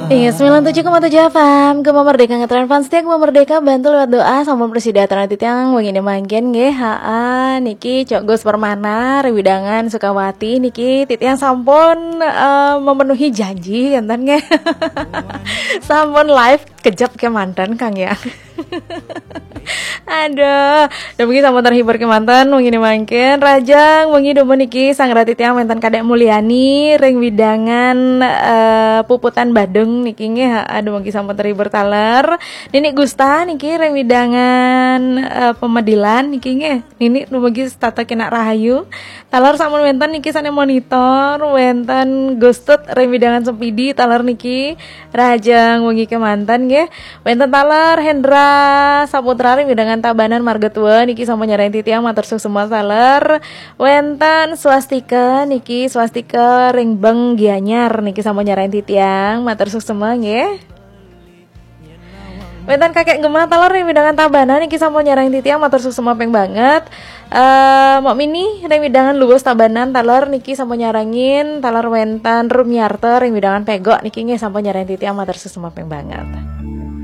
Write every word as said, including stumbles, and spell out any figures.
Iya, sembilan tujuh koma tujuh F M, Gema Merdeka ngetren fans setia Gema Merdeka, bantu lewat doa sama prasida titiang wengine mangkin nggih. Haa, niki Cok Gus Permana, ring widangan Sukawati niki titiang sampun eh, memenuhi janji, enten nggih. Sampun live kejap kemanten, Kang, ya. Aduh, dumugi sampun terhibur kemanten wengine mangkin. Rahajeng wengi dumun niki sareng titiang wenten Kadek Mulyani ring widangan eh, Puputan Badung niki nggih. Aduh, dumugi sampun terhibur taler. Nini Gusta niki ring widangan eh, Pemedilan niki nggih. Nini dumugi setata kenak rahayu. Taler sampun wenten niki sane monitor, wenten Gustut ring widangan Sempidi taler niki. Rahajeng wengi kemanten nggih. Wenten taler Hendra Saputra ring widangan Tabanan Marga Tua niki sampun nyarengin titiang, matur suksma taler. Wenten Swastika niki, Swastika ring Beng Gianyar niki sampun nyarengin titiang, matur suksma nggih. Wenten Kakek Gema taler ring widangan Tabanan niki sampun nyarengin titiang, matur suksma ping banget. Eh, Mok Mini ring widangan Luwus Tabanan taler niki sampun nyarengin, taler wenten Rumiarta ring widangan Pegok niki nggih sampun nyarengin titiang, matur suksma ping banget.